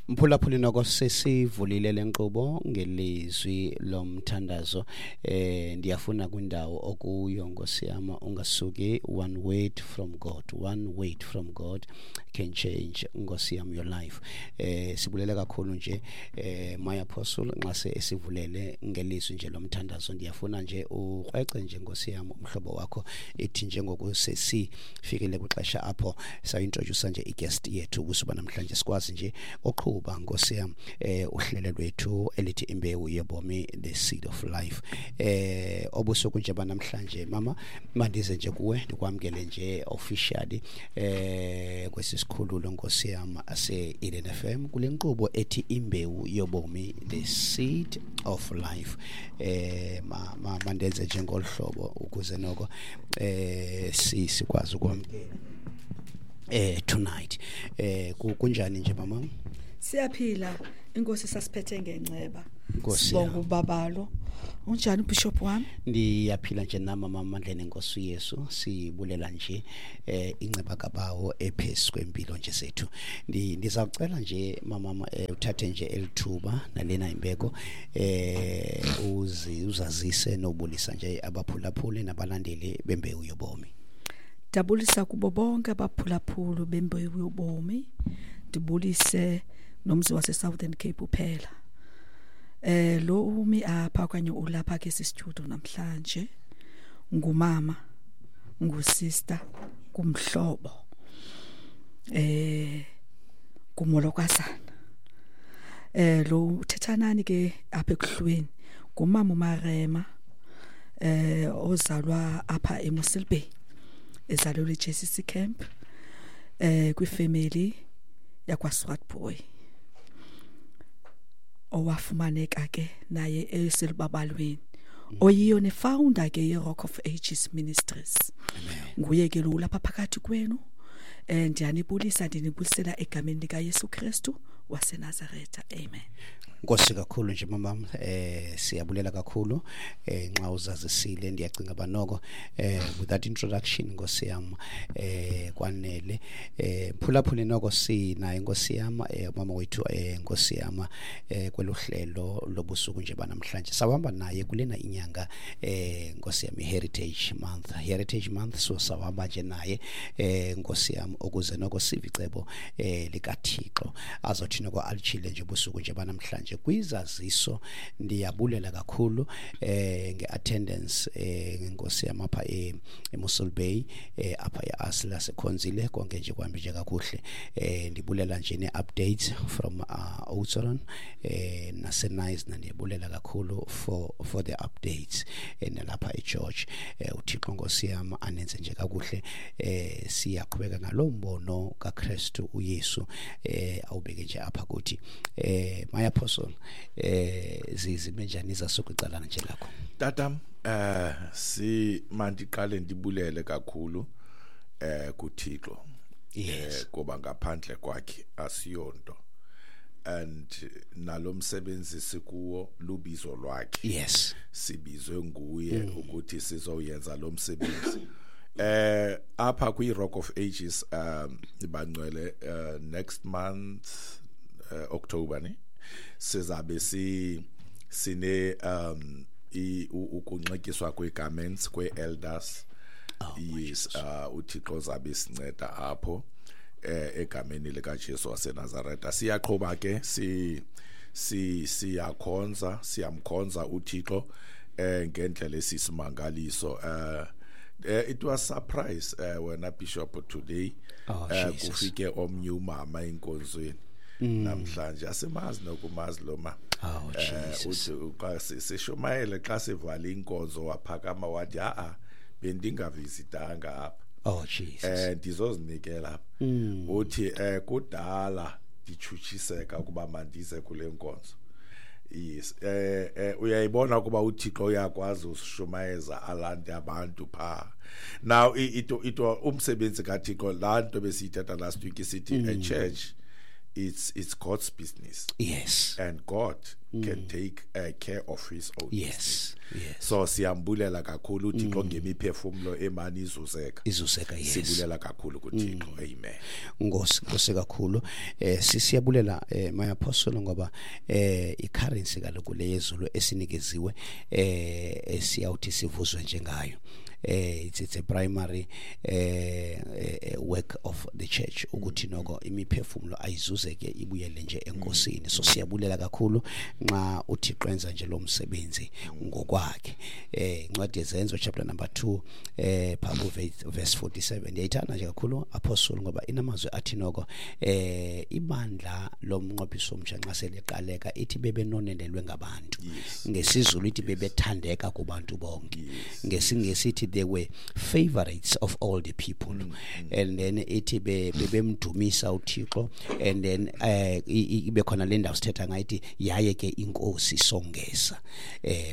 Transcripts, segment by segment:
Mphulaphuli, noko sesivulile le nkqubo ngelizwi lomthandazo. Ndiyafuna kwindawo okuyo, Nkosi yam, ungasuki. One word from God, one word from God can change, Nkosi yam, your life. Sibulele kakhulu nje, my apostle, nxa se esivulele ngelizwi nje lomthandazo. Ndiyafuna nje ukrwece nje, Nkosi yam, umhlobo wakho ithi njengoku sesifikile kwixesha apho sayintroduce nje iguest yethu ubusuku namhlanje, sikwazi nje uqhuba, Nkosi yam, uhlelo lwethu elithi Imbewu Yobomi, The Seed of Life. Obusuku nje banamhlanje, mama, mandize nje kuwe, ndikwamkele nje officially kwesi sikhululo, Nkosi yam, ase Eden FM kule nkqubo ethi Imbewu Yobomi, The Seed of Life. Mandenze nje ngolu hlobo ukuze noko sikwazi ukwamkela tonight. Kunjani nje, mama? Siyaphila, inkosi sasiphethe ngenceba. Nkosi Sibonga yam. ubabalo. Unjani, ubishop wami? Ndiyaphila nje nama, mama, mandleni enkosi Yesu. Sibulela nje inceba kabawo ephezu kwempilo nje zethu. Ndizawucela nje, mama, uthathe nje elithuba nalena imbeko, uzi uzazise nobulisa nje abaphulaphuli nabalandeli beMbewu Yobomi. Ndabulisa kubo bonke abaphulaphuli beMbewu Yobomi. Ndibulise nomzi wase Southern Cape uphela. Lo umi apha okanye ulapha ke studio namhlanje ngumama, ngusister, kumhlobo. Kumolokazana. Lo uthethanani ke apha ekuhlweni ngumama uMarema, ozalwa apha eMossel Bay, ezalelwe eJCC Camp, kwifamily yakwaSwartboy, owafumaneka ke naye eselubabalweni, oyiyo nefounder ke ye-Rock of Ages Ministries. Nguye ke lo lapha phakathi kwenu. Ndiyanibulisa, ndinibulisela egameni likaYesu Kristu waseNazaretha, amen. Nkosi kakhulu nje, mama. Siyabulela kakhulu nxa uzazisile. Ndiyacinga banoko with that introduction, Nkosi yam, kwanele. Phulaphuli, noko sinaye, Nkosi yam, mama wethu, Nkosi yam, kweluhlelo lobusuku nje banamhlanje. Sawuhamba naye kulena inyanga, Nkosi yam, Heritage Month, Heritage Month. So sawuhamba nje naye, Nkosi yam, ukuze noko sive icebo likaThixo azothi noko alitshile nje ubusuku nje banamhlanje kwizaziso. Ndiyabulela kakhulu ngeattendance, ngenkosi yam, apha eMossel Bay, apha eAsla sekhonzile, konke nje kuhambe nje kakuhle. Ndibulela nje ne-updates from Oudtshoorn naseNyasna. Ndiyabulela kakhulu for the updates, nalapha eGeorge. UThixo, Nkosi yam, anenze nje kakuhle. Siyaqhubeka ngalo mbono kaKristu uYesu awubeke nje apha kuthi. My apostle, zime njani izasukwicalana nje lakho? Tatam, si mandiqale ndibulele kakhulu kuThixo. Kuba ngaphandle kwakhe asiyonto. And nalomsebenzi sikuwo lubizo lwakhe. Sibizwe nguye ukuthi sizoyenza lo msebenzi. Apha kwi Rock of Ages, bangcwele, next month, October ne, sizabe si sine ukunxityiswa kwe-garments kwe-elders. Oh, my Yes. Jesus. UThixo zabe sinceda apho egameni likaJesu waseNazaretha. Siyaqhuba ke, si si siyakhonza, siyamkhonza uThixo ngendlela esisimangaliso. It was surprise, wena bishop, today. Oh, Jesus. Kufike omnye umama enkonzweni namhlanje, asimazi nokumazi lo ma. Oh, Jesus. Uthi xa sishumayele, xa sivala inkonzo, waphakama wathi, "Ha, bendingavisitanga apha." Oh, Jesus. Ndizozinikela apha. Uthi kudala nditshutshiseka ukuba mandize kule nkonzo. Yes, uyayibona ukuba uThixo uyakwazi usishumayeza alande abantu pha. Now ito umsebenzi kaThixo, laa nto besiyithetha last week, isithi a church it's God's business. Yes. And God can take care of his own business. Yes. So siyambulela kakhulu uThixo ngemiphefumulo emani izuzeka. Izuzeka, yes. Sibulela kakhulu kuThixo. Amen. Nkosi kakhulu. Siyabulela my apostle ngoba i-currency kaloku le yezulu esinikeziwe esiyawuthi sivuzwe njengayo. It's a primary work of the church ukuthi noko imiphefumulo ayizuzeke ibuyele nje enkosini. So siyabulela kakhulu nxa uThixo enza nje lo msebenzi ngokwakhe. Incwadi yeZenzo chapter number 2 phambi verse 47 ndiyayithanda nje kakhulu apostle ngoba inamazwi athi noko ibandla lomnqophiso omtsha nxa seliqaleka ithi bebenonelelwe ngabantu. NgesiZulu ithi bebethandeka kubantu bonke. NgesiNgesi ithi they were favorites of all the people. And then ithi bebemdumisa uThixo, and then ibe khona le ndawo sithetha ngayo ithi yaye ke inkosi songeza.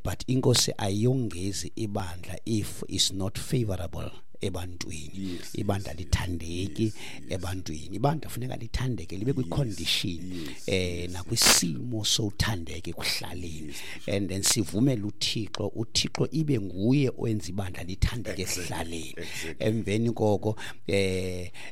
But inkosi ayongezi ibandla if is not favorable ebantwini. Ibandla lithandeki ebantwini. Ibandla funeka lithandeke libe kwi-condition nakwisimo sothandeke kuhlaleni, and then sivumele uThixo ibe nguye owenza ibandla lithandeke esihlaleni. Emveni koko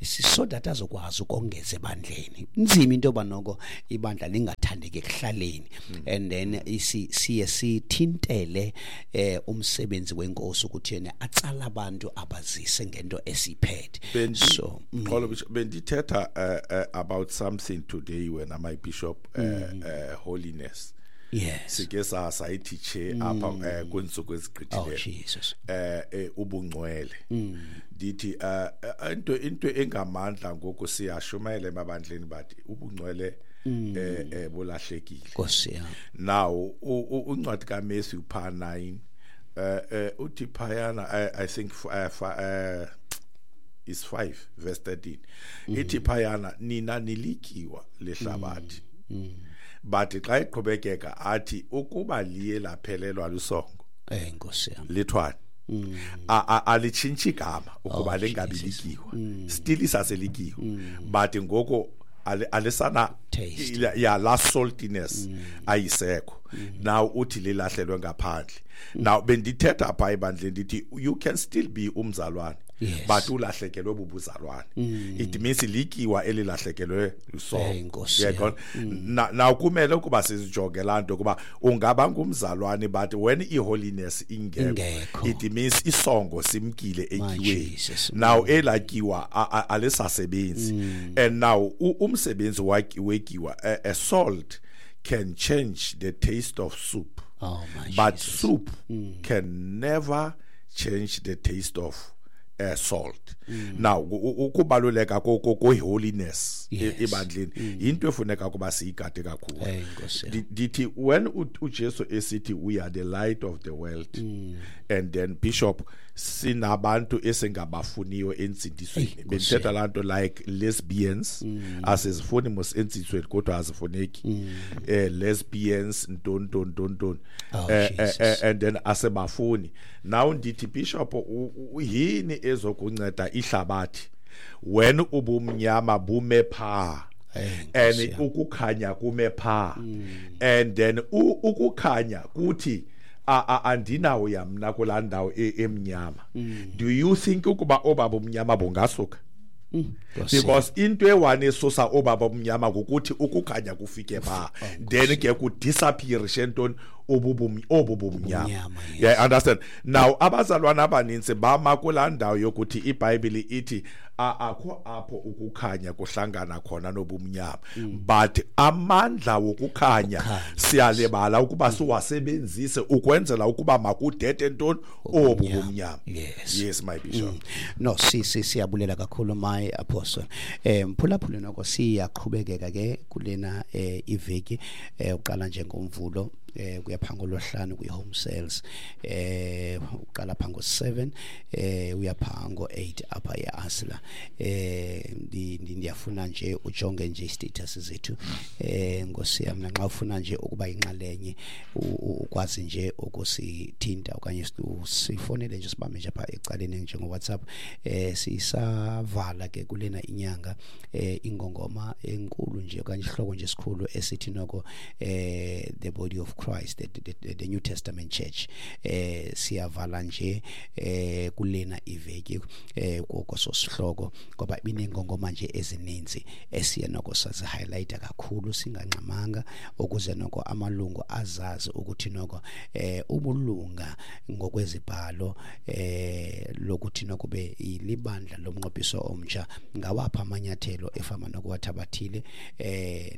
so that azokwazi ukongeza ebandleni. Inzima into yoba noko ibandla lingathandeki ekuhlaleni, and then siye sithintele umsebenzi wenkosi ukuthi yena atsala abantu abazise ngento esiphethe. So bendithetha about something today when my bishop holiness. Yes. Sike sayithi che apha kwintsuku ezigqithileyo. Oh Jesus. Ubungcwele. Ndithi into engamandla ngoku siyashumayela emabandleni bathi ubungcwele bulahlekile. Nkosi yami. Now uncwadi kaMatthew pha 9 uthi phayana I think is 5 verse 13. Ithi phayana nina nilikiwa lehlabathi. But xa iqhubekeka athi ukuba liye laphelelwa lusongo. Nkosi yami. Lithwani. Alitshintshi igama ukuba lingabilikiwa. Still isaselikiwa. But ngoku alisana ya la saltiness ayisekho. Now uthi lilahlelwe ngaphandle. Now bendithetha apha ebandleni ndithi you can still be umzalwane. Yes. But ulahlekelwe bubuzalwane. It means likiwa elilahlekelwe lusongo. Yaqona. Now kumele ukuba sizijonge laa nto kuba ungaba ngumzalwane but when i-holiness ingekho it means isongo simkile ekiweni. Now elakiwa alisasebenzi. And now umsebenzi wekiwa a salt can change the taste of soup. Oh my but Jesus. Soup can never change the taste of salt. Now ukubaluleka ko holiness ebandleni into efuneka kuba siyigade kakhulu. Ndithi when uJesu esithi we are the light of the world, and then bishop sinabantu esingabafuniyo entsindisweni. Bendithetha laa nto like lesbians, asizifuni mos entsindisweni kodwa azifuneki. Lesbians nton and then asebafuni. Now ndithi bishop yini ezokunceda ihlabathi when ubumnyama bume pha and ukukhanya kume pha, and then ukukhanya kuthi andinawo yamna kulaa ndawo emnyama. Do you think ukuba obaba umnyama bungasuka? Because into ewane esusa obaba umnyama ngokuthi ukukhanya kufike pha, then ke kudisappear ntoni obubumnyama. Yeah, understand. Now abazalwana abaninzi bama kulaa ndawo yokuthi iBhayibhile ithi akho apho ukukhanya kuhlangana khona nobumnyama, but amandla wokukhanya siyalibala ukuba siwasebenzise ukwenzela ukuba makudede ntoni obubumnyama. Yes my bishop. No, siyabulela kakhulu my apostle. Mphulaphuli noko siyaqhubekeka ke kulena iveki uqala nje ngomvulo Kuya pha ngolwesihlanu kwi-home sales, uqala pha ngo-7 uya pha ngo-8 apha e-Asla. Ndiyafuna nje ujonge nje i-status zethu, nkosi yam, nanxa ufuna nje ukuba yinxalenye, ukwazi nje ukusithinta okanye sifonele nje, sibambe nje apha ecaleni njengo-WhatsApp. Sisavala ke kulena inyanga ingongoma enkulu nje okanye isihloko nje esikhulu esithi noko the body of Christ, the New Testament Church. Siyavala nje kulena iveki koso sihloko, ngoba ibinengongoma nje ezininzi esiye noko sazi-highlighta kakhulu singangxamanga, ukuze noko amalungu azazi ukuthi noko ubulunga ngokwezibhalo lokuthi noko be libandla lomnqophiso omtsha, ngawapha amanyathelo efama nokuwathabathile,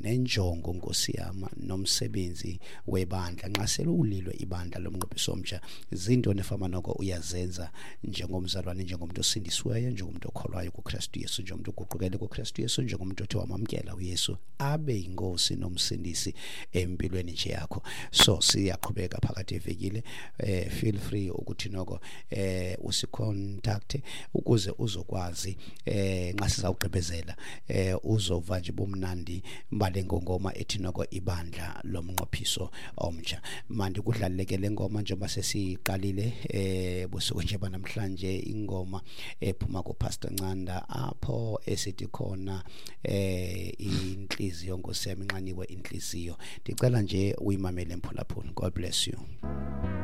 nenjongo, nkosi yam, nomsebenzi webandla nxa selulilwe ibandla lomnqophiso omtsha, zintoni efama noko uyazenza njengomzalwane, njengomuntu osindisiweyo, njengomuntu okholwayo kuKristu Yesu, njengomuntu oguqukele kuKristu Yesu, njengomuntu othe wamamkela uYesu abe yinkosi nomsindisi empilweni nje yakho. So siyaqhubeka phakathi evekile. Feel free ukuthi noko usi-contact ukuze uzokwazi nxa sizawugqibezela, uzova nje bumnandi bale ngongoma ethi noko ibandla lomnqophiso omtsha. Mandi kudlaleke le ngoma njengoba sesiqalile busuku nje banamhlanje, ingoma ephuma kuPastor Ncanda apho esithi khona inhliziyo, nkosi yami, inxaniwe inhliziyo. Ndicela nje uyimamele, mphulaphula. God bless you.